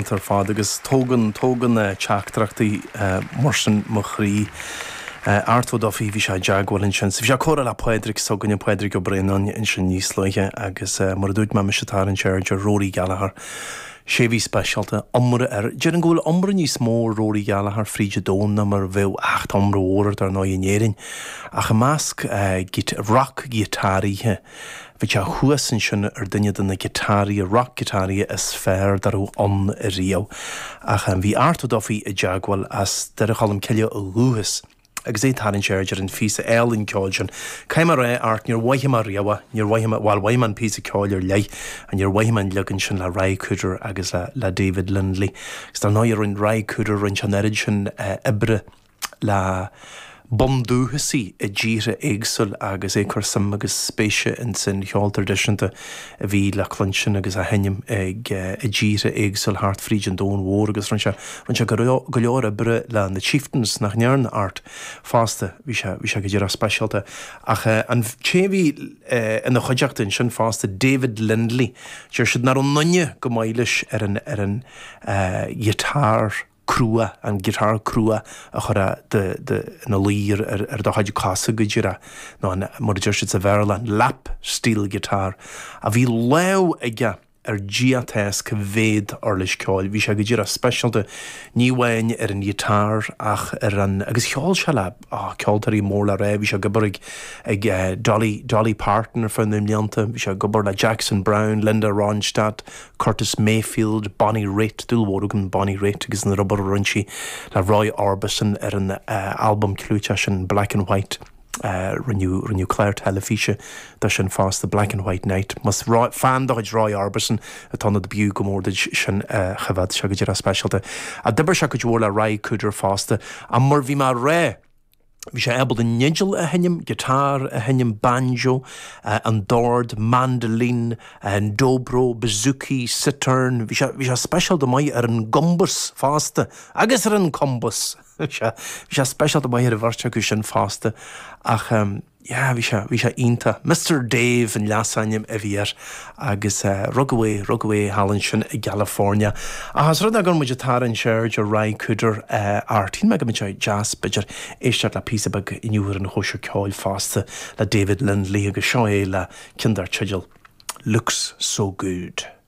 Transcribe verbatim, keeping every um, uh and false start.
Iontach ar fad agus tógann tógann teachtaireachtaí mar sin mo chroí. Art Ó Dufaigh bhí sé i dteagmháil ansin. So bhí sé ag comhrá le Pádraig s'againne Pádraig Ó Braonáin ansin níos luaithe agus mar a dúirt mé mise ag tarraingt aird ar Rory Gallagher. Sé bhí speisialta iomrá air. Déarfainn go bhfuil iomrá níos mó ar Rory Gallagher fríd an domhan ná mar a bheadh ach tá iomrá mhór air dar ndóigh in Éirinn. Ach i measc roc-ghiotáraithe bhí sé thuas ansin ar duine de na giotáraithe roc-ghiotáraithe is fearr dá raibh ann riamh. Ach bhí Art Ó Dufaigh i dteagmháil as Doire Cholm Cille ó dhúchas. agus é ag tarraingt aird ar an phíosa álainn ceoil sin. Caithfidh mé a rá Art níor mhothaigh mé riamh níor mhothaigh mé bhuel mhothaigh mé an píosa ceoil ar leith a níor mhothaigh mé an leagan sin le Ry Cooder agus le, le David Lindley. Agus dar ndóigh rinne Ry Cooder rinne an oiread sin oibre le bundúchasaigh i dtíortha éagsúil agus é ag cur suim agus spéise in san cheol traidisiúnta a bhí le cluinstin agus á sheinm ag i dtíortha éagsúil thart fríd an domhan mhór agus rinne sé rinne sé go leor oibre le na Chieftains nach ndearna Art fosta bhí sé bhí sé go díreach speisialta ach an té bhí ina chuideachta ansin fosta David Lindley deir siad nach raibh aon duine go maith leis ar an ar an ghiotár crua an giotár crua a chur ina luí ar ar do chuid cosa go díreach nó an mar a deir siad sa Bhéarla an lap steel guitar a bhí lámh aige ar Dia atá cá mhéad uirlis ceoil. Bhí sé go díreach speisialta ní amháin ar an ghiotár ach ar an agus cheol sé le oh, ceoltóirí mór le rá, bhí sé ag obair ag ag uh, Dolly, Dolly Parton ar feadh na mblianta, bhí sé ag obair le Jackson Browne, Linda Ronstadt, Curtis Mayfield, Bonnie Raitt, dúil mhór agam Bonnie Raitt agus an obair a rinne sí le Roy Orbison ar an uh, album clúiteach sin Black and White. Uh, rinneadh rinneadh clár teilifíse de sin fosta Black and White Night. Más fan de chuid Roy Orbison atá ionat b'fhiú go mór duit sin uh, choimhéad sé go díreach speisialta. A d'oibir sé go mhór le Ry Cooder fosta a mar bhí mar ré Bhí sé ábalta an fhidil a sheinm, giotár a sheinm banjo, uh, an dord, mandolin, an dobro, bouzouki, cittern, bhí sé, bhí sé speisialta maith ar an gcombas fosta, agus ar an combas. Bhí sé speisialta maith ar an bheirt acu sin fosta ach um, yeah, bhí sé bhí sé iontach. Mr. Dave an leasainm a bhí air agus uh, rugadh é rugadh é thall ansin i California. Ach rud gur muid ag tarraingt aird ar Ry Cooder uh, Art. Shíl mé go mbeadh sé deas b'fhéidir éisteacht le píosa beag inniu ar an chóisir ceoil fosta le David Lindley agus seo é le ceann dar teideal. Looks so good.